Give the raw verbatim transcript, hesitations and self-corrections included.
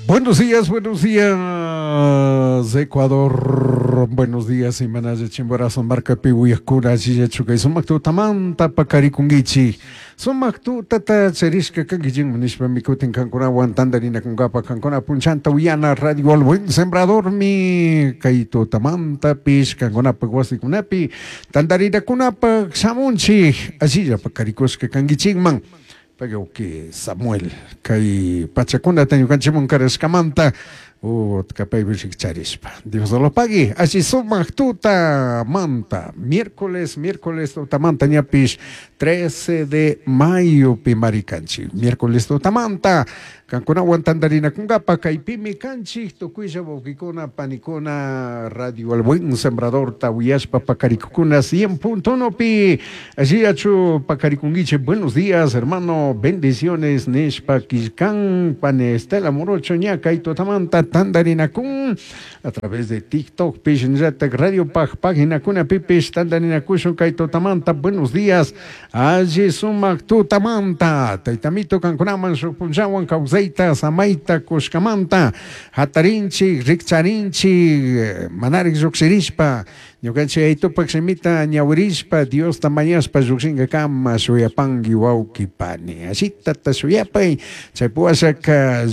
Buenos días, buenos días, Ecuador. Buenos días, Imanaya Chimborazo, Marca Pihuiakura, Chillachuca, Sumak tutamanta pakarikunkichik. Sumak tutata charishka kankichikman nishpa mikutin kankunawan tantarinakunkapa kankuna punchanta uyana Radio El Buen Sembradormi kay tutamantapish kankunapak wasikunapi tantarinakunapak shamunchik ashilla pakarikushka kankichikman. Pagauki Samuel kay pachakunata ñukanchikman karashkamanta utka paypi rikcharishpa Dios lo pague alli sumak tutamanta miércoles miércoles tutamanta ñapish trece de mayo pi marikanchik miércoles tutamanta kankunawan tantarinakunkapa kaypimi kanchik tukuylla wawqikuna panikuna Radio El Buen Sembrador tawiyashpa pakarikukuna cien punto uno pi allillachu pakarikunkichik. Buenos días, hermano, bendiciones nishpa killkan pane Estela Morocho ña kay tutamanta tantarinakun a través de TikTok pish nllatak Radio Paj página pipish tantarinakushun kay tutamanta. Buenos días, alli sumak tutamanta taytamito kankunaman shuk punllawan kawsayta samayta kushkamanta hatarinchik rikcharinchik manarik lluqshirishpa ñukanchik aytupak shimita ñawirishpa Diosta mañashpa lluqshinkakama shuyapanki wawqi pani ashitata shuyapay chaypuwashaka.